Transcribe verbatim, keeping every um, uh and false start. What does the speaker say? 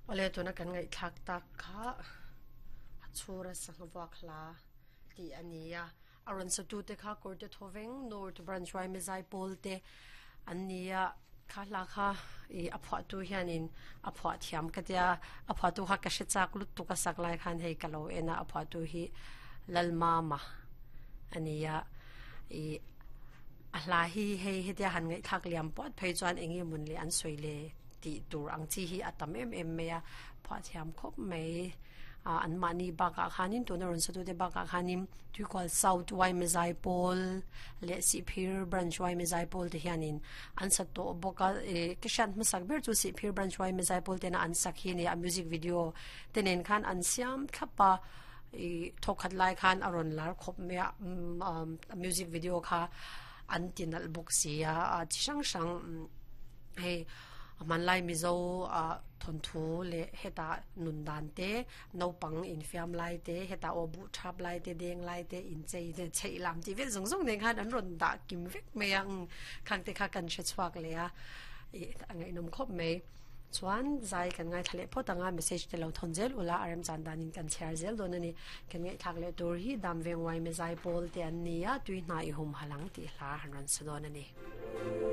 Ole tuna kan ngai thak tak kha chura sangwak hla ti ania aron satu te kha korte thoveng North Branch wai mezai pol te ania kha hla kha i aphwa tu hianin aphwa thiam ka tia aphwa tu kha ka hre chak lut tu ka sak lai khan hei kalo ena aphwa tu hi lalmama ania i a hla hi hei hetia han ngai thak liam pot phei chuan engi mun le an soile ti tur ang chi hi atam em em meya phwa thiam khop mai a an mani baka khanin tuna ron satu te baka khanin tuikwal South wai mezai pol le si phir Branch wai mezai pol te hianin an sat to boka e kishan masak ber chu si phir Branch wai mezai pol te na an sak hi ni a music video tenen khan an siam thlapa i thokhat lai khan aron lar khop me a music video kha an tinal bok sia a chi sang sang hei man lai mizo a thon thu le heta nun dan te no pang in fiam lai te heta o bu thap lai te deng lai te in chei te chei lam ti vel zong zong ne khan an ron da kim vek me ang khang te kha kan che chuak le a e angai nom khop me chuan zai kan ngai thale photanga message te lo thon zel ula arem chan dan in kan share zel don ani kan ngai thak le tur hi dam veng wai me zai pol te an nia tui na i hum halang ti hla han ran sudon ani.